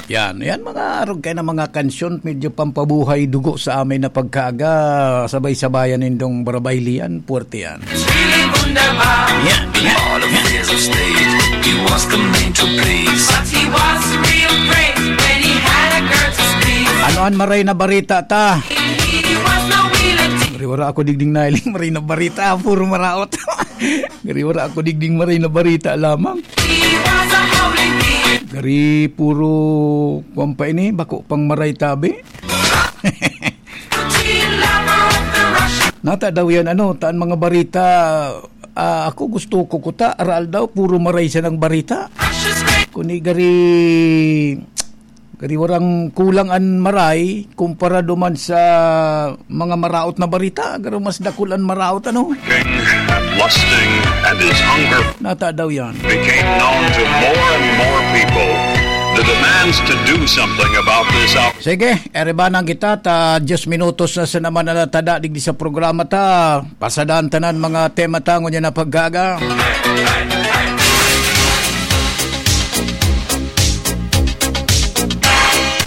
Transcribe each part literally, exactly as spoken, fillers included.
Yan, yan mga arog kayo na mga kansyon, medyo pampabuhay dugo sa amay na pagkaaga, sabay-sabayan nindong barabaylian, puwerte yan. It's really wunderbar. Yan, yan, All of yan. Years of state, he was the man to please. But he was a real great when he had a girl to squeeze. Ano an maray na barita ta? He was no wheeler. Gari wara ako digding nailing maray na barita, puro maraot. Gari wara ako digding maray na barita lamang. He was a howling thief. Gari puro, kwan pa ini, bako pang maray tabi. Nata daw yan, ano, taan mga barita, ah, ako gusto ko kuta, aral daw, puro maray siya ng barita. Kuni gari, gari warang kulang an maray, kumpara duman sa mga maraot na barita, garo mas dakul an maraot, ano? King, lusting, and his hunger Nata daw yan. Became known to more and more people. The demands to do something about this out- Sige, erebanan kita, ta diyes minutos na sa naman na natada digdi sa programa ta. Pasadan tanan mga tema ta ngunyan na paggaga.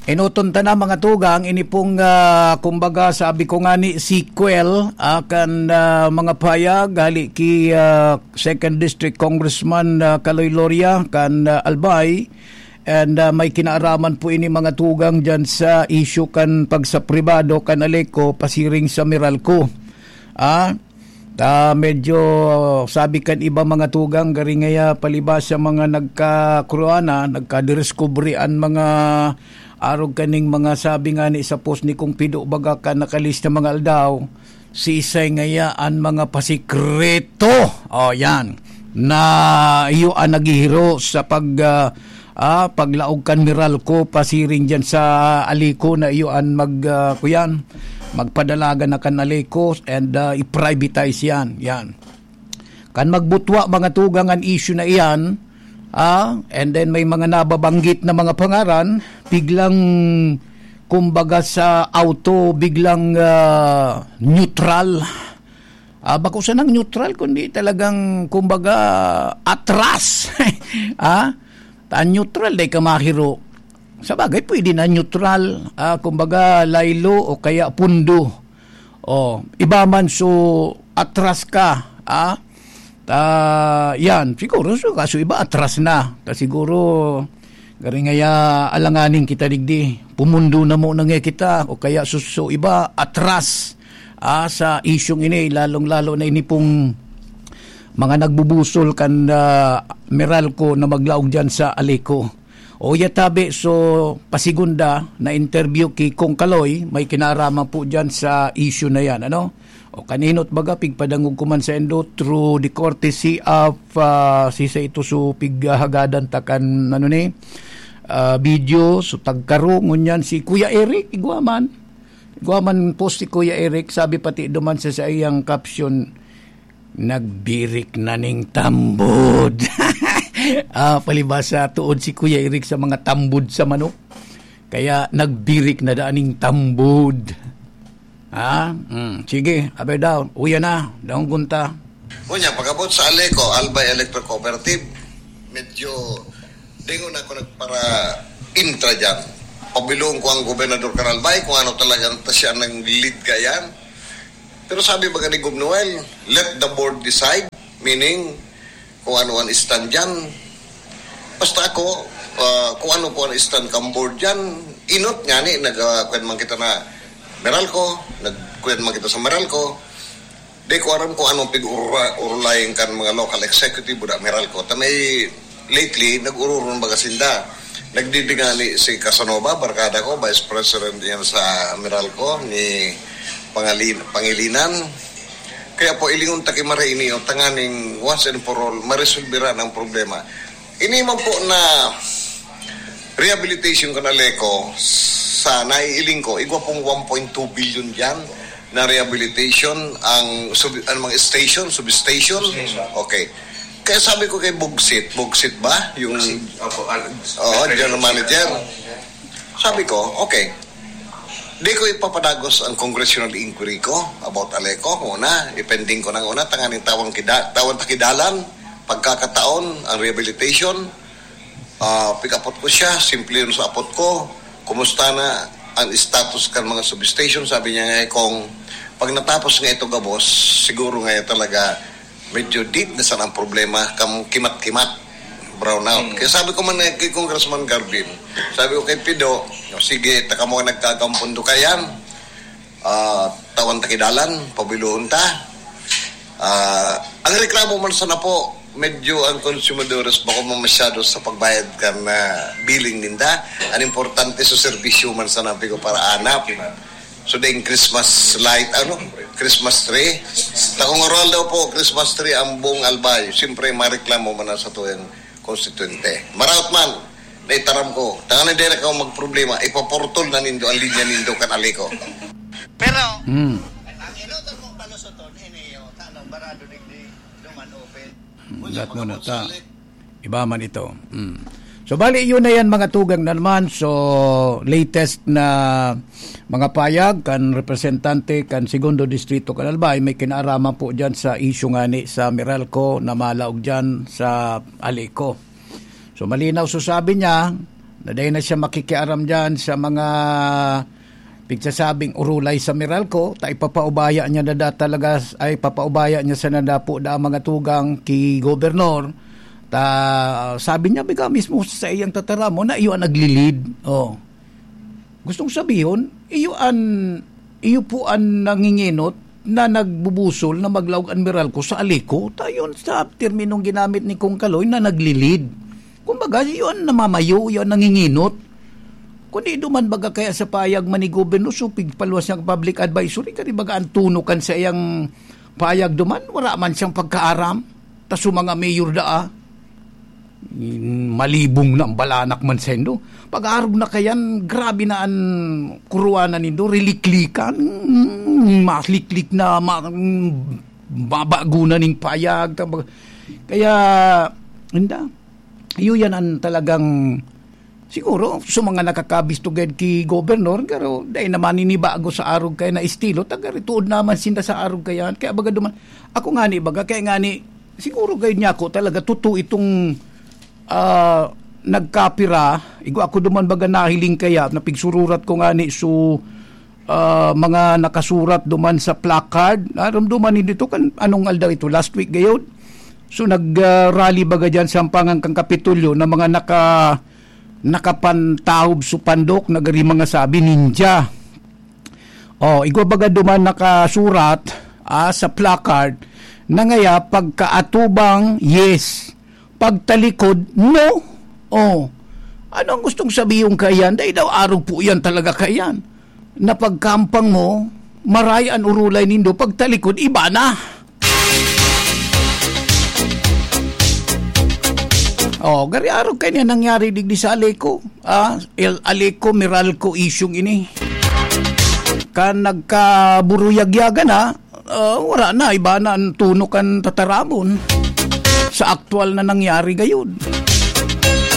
Enoton ta na, mga tugang, ini pong, ah, kumbaga, sabi ko nga ni sequel, ah, kan, ah, mga pahayag hali ki, ah, Second District Congressman, ah, Kaloy Loria kan, ah, Albay. And, ah, may kinaaraman po ini, mga tugang, dyan sa issue kan pagsapribado kan Aleco pasiring sa Meralco. Ah, ta medyo sabi kan iba, mga tugang, gari ngaya palibasa mga nagkakuruana, nagkadiskubre an mga arog kaning mga sabi nga ni sa post ni Kong Pido baga kan nakalista mga aldaw, siisay ngaya an mga pasikreto? O, yan. Na iyo an naghihiro sa pag, ah, ah, paglaog kan Meralco pasiring dyan sa Aleco na iyo an mag, ah, kuyan, magpadalagan na kan Aleco and, ah, i-privatize yan. Yan. Kan magbutwa, mga tugang, an issue na iyan, ah, and then may mga nababanggit na mga pangaran, biglang, kumbaga, sa auto, biglang, ah, neutral. Ah, bako sanang neutral, kundi talagang, kumbaga, atras. Ah, ta neutral, dai ka mahiro. Sa bagay, pwede na neutral. Ah, kumbaga, laylo o kaya pundo. O, iba man, so, atras ka, ah. Ta, yan, siguro, so, kaso iba, atras na. Ta siguro, gari ngaya, alanganin kita digdi. Pumundo na muna nga kita, o kaya, so, so, iba, atras, ah, sa isyung ini, lalong-lalo na ini pong mga nagbubusol kan, ah, Meralco na maglaog dyan sa Aleco. O, ya tabi, so, pasigunda na interview ki Kong Kaloy, may kinaraman po dyan sa issue na yan, ano? O, kaninot baga, pigpadangog ko man sa indo through the courtesy of, ah, sisa ito, so, pighahagadan ta kan, ano ni, ah, video, so, tagkaro, ngunyan si Kuya Eric, igwa man. Igwa man po si Kuya Eric, sabi pati duman sa, sa iyang caption, "Nagbirik na ning tambod." Ah, palibasa, tuod si Kuya Eric sa mga tambod sa manok. Kaya nagbirik na daan ning tambod. Ha? Hmm, sige, abay daw, uya na, daong gunta. Unya, pag-abot sa Aleco, Albay Electric Cooperative, medyo dingon ako nagpara-intra dyan. Pabilong ko ang Gobernador Caralbay kung ano talagang ta siya nang lead kayan. Pero sabi ba ni Gov Noel, "Let the board decide," meaning, kung ano ang stand dyan. Basta ako, ah, kung ano po ang stand kang board dyan, inot nga ni, nag, ah, kwan man kita na Meralco, nagkwan man kita sa Meralco. Di ko aram kung anong pig-urulayan kan mga local executive, buda Meralco. Ta may lately, nag-ururong baga sinda. Nagdidingani si Casanova, barkada ko, vice president yan sa Meralco, ni Pangalin-, Pangilinan. Kaya po, ilingon ta ki Mara ini, o, tanganing once and for all, maresolbera ang problema. Ini man po na rehabilitation kan Aleco, sa naiiling ko, igwa pong one point two billion dyan na rehabilitation ang sub-, ang mga station, substation. Substation. Okay. Kaya sabi ko kay Bugsit, Bugsit ba? Yung Bugsit. Opo, al-, Oo, President. General Manager. Sabi ko, okay. Di ko ipapadagos ang congressional inquiry ko about Aleco. Una, i-pending ko nang una, tanganing tawang kida-, tawang takidalan, pagkakataon, ang rehabilitation. Ah, pikapot ko siya, simple yun sa apot ko. "Kumusta na ang status kan mga substation?" Sabi niya nga, eh, kung pag natapos nga ito gabos, siguro nga talaga medyo deep na sana ang problema, kam-, kimat-kimat, brown out. Hmm. Kaya sabi ko man, eh, kay Congressman Garvin, sabi ko kay Pido, "O sige, taka mo nagkagampon do kayan." Ah, tawan ta ki dalan, pabilohon ta. Ah, ang reklamo man sana po, medyo ang konsumadores bako man masyado sa pagbayad kan, ah, billing ninda. Ang importante sa serbisyo man sana, pigo para anap. So, ding Christmas light, ano? Christmas tree. Takong oral daw po, Christmas tree, ang buong Albay. Siyempre, mareklamo man na sa tuyang konstituyente. Maraot man, naitaram ko. Tangan na dira ka magproblema, ipapurtol na nindo ang linya nindo kan Alico. Pero, Hmm. ang inutot mong palusoton, ini, o, tanong, barado digdi, duman open. Gat mo na ta. Iba man ito. Hmm. So, bali, yun na yan, mga tugang na naman. So, latest na mga payag kan representante kan Segundo Distrito kan Albay, may kinaaraman po dyan sa issue ngani sa Meralco na malaog dyan sa Alico. So, malinaw so sabi niya na dahil na siya makikiaram dyan sa mga pigsasabing urulay sa Meralco, ta ipapaubaya niya na da talaga, ay papaubaya niya sa nadapo da mga tugang ki Gobernador. Ta, sabi niya, biga mismo sa iyang tataramon na iyo ang naglilid. Oh. Gustong sabihon, iyo an, iyo po an nangingenot na nagbubusol na maglaog an Meralco sa Alico. Ta yun sa terminong ginamit ni Kong Kaloy na naglilid. Kumbaga, iyo an namamayo, iyo an nangingenot. Kundi duman baga kaya sa payag man ni Gobernador, so pigpaluwas niyang public advisory, kani baga ang tunukan sa iyang payag duman, wala man siyang pagkaaram. Ta so mga mayor daa, malibong na ang balanak man sendo. Pag-arog na kayan, grabe na an kuruwanan nindo, riliklikan, mm, maliklik na, ma-, mm, babago na ning payag. Tabag-, kaya, inda, iyo yan ang talagang, siguro, sa mga nakakabis to gad ki Gobernador, pero dai naman ini bago sa arog kaya na estilo, taga rituod naman sinda sa arog kaya. Kaya baga duman, ako nga ni baga, kaya nga ni, siguro gayud niya ako talaga, totoo itong, ah, nagkapira, igo ako duman baga nahiling kaya, napigsururat ko nga ni, so, ah, mga nakasurat duman sa placard, naramduman ni dito kan, anong aldaw ito, last week gayud? So, nag, ah, rally baga dyan sa ampangan kang Kapitolyo na mga naka-, nakapantahob so pandok, nagari mga sabi, "Ninja." Oh, igwa baga duman nakasurat, ah, sa placard, na ngaya pagkaatubang, yes. Pagtalikod, no. Oh, ano ang gustong sabihon kaiyan? Dai daw arog po yan talaga kaiyan. Na pagkampang mo, maray an urulay nindo, pagtalikod, iba na. Oh, gari arog kaya niya nangyari digdi sa Aleco. Ah, El Aleco, Meralco isyung ini. Kan nagkaburuyagyagan na, ah, wala na, iba na ang tuno kan tataramon sa aktual na nangyari gayud.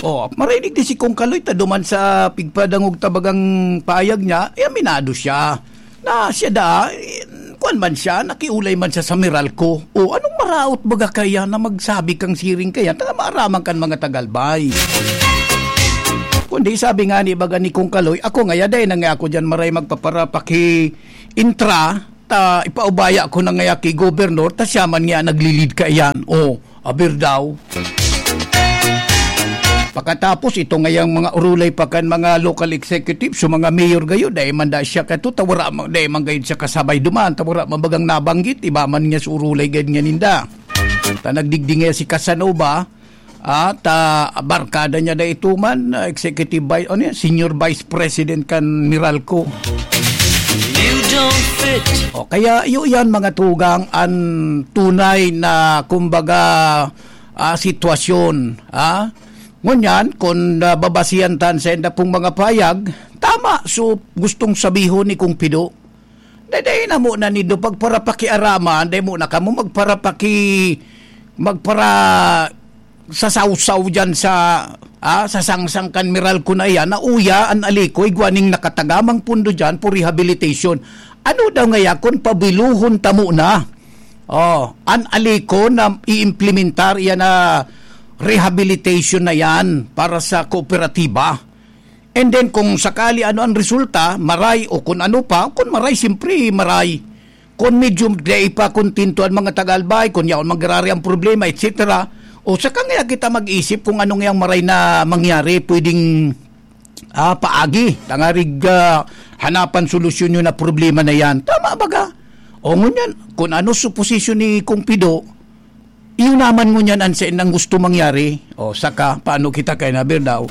Oh, marinig di si Kong Kaloy, ta duman sa pigpadangog tabagang payag niya, eh, aminado siya. Na siya da, eh, kuwan man siya, nakiulay man siya sa Meralco. O, anong maraot baga kaya na magsabi kang siring kaya, ta maaraman kan mga tagalbay? Kundi sabi nga ni baga ni Kong Kaloy, ako nga, yaday na nga ako dyan maray magpaparapaki intra, ta ipaubaya ko na nga ki Gobernador, ta siya man nga naglilid kaiyan. O, aber daw. Pakatapos, ito ngayang mga urulay pa kan mga local executive, so mga mayor gayo, dai man da siya kato, ta wara man, dai man gayud siya kasabay duman, ta wara man bagang nabanggit, iba man nga sa urulay gayud nga ninda. Ta nagdigdi nga si Casanova, at, ah, barkada niya da ito man, ah, executive vice, ano yan, senior vice president kan Meralco. You don't fit. O, kaya iyo yan, mga tugang, ang tunay na, kumbaga, ah, sitwasyon, ah. Ngunyan, kung, ah, babasihan tan sa enda pong mga payag, tama, so, gustong sabihon ni Kong Pido. Dai, dai na mo na nindo pagparapakiaraman, dai mo na kamo magparapaki-, magpara-, sasawsaw diyan sa, ah, sa sangsang kan Meralco na iyan, na uya, an Aleco, igwa ning nakatagamang pundo diyan for rehabilitation. Ano daw ngaya kun pabiluhon ta mo na? Oh, an Aleco na iimplementar iyan na rehabilitation na yan para sa kooperatiba. And then kung sakali ano ang resulta, maray o kung ano pa, kung maray, siyempre maray. Kung medyo dai pa kontento ang mga taga-Albay, kung yaon mangyarari ang problema, et cetera. O saka nga kita mag-isip kung anong yang maray na mangyari, pwedeng ah, paagi, tangarig ah, hanapan solusyon yun na problema na yan. Tama ba ka? O ngunyan, kung ano suposisyon ni Kung Pido, iyon naman ngunyan ang sa ang gusto mangyari. O saka, paano kita kay Naber daw?